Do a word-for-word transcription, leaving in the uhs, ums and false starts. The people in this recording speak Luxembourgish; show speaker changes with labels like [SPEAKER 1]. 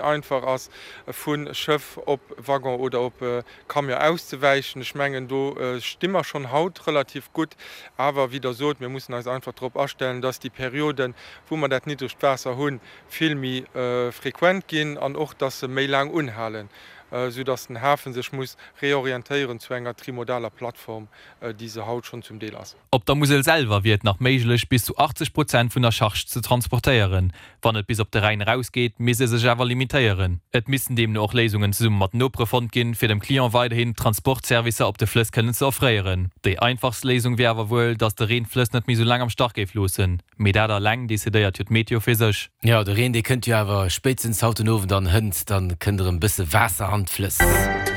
[SPEAKER 1] einfach ass, vu Schëff op Waggon oder op Camion auszewäichen. Ech mengen, do sti mer schonn haut relativ gutt. Awer, wéi Der sot, mir mussen eis einfach drop astellen, dass déi Perioden, wou mer dat niddregt Waasser hunn, vill méi frequent ginn an och, dass se méi laang unhalen, soudass den Hafe sech muss reorientéieren zu enger trimodaler Plattform, déi se haut schonn zum Deel ass.
[SPEAKER 2] Op der Musel selwer wier et nach méiglech, bis zu achtzeg Prozent vun der Charge ze transportéieren. Wann et bis op de Rhäin erausgeet, misst ee sech awer limitéieren. Et missten deemno och Léisungen zesumme mat Nopere fonnt ginn, fir dem Client weiderhin Transportservicer op de Flëss kënnen ze offréieren. Déi einfachst Léisung wier awer wuel, datt de Reen d'Flëss net méi sou laang am Stach géif loossen. Mee dat eleng decidéiert jo d'Meteo fir sech.
[SPEAKER 3] Jo, de Reen, dee kënnt jo awer spéitstens haut den Owend an hënt, dann kënnt erëm bësse Waasser an d'Flëss.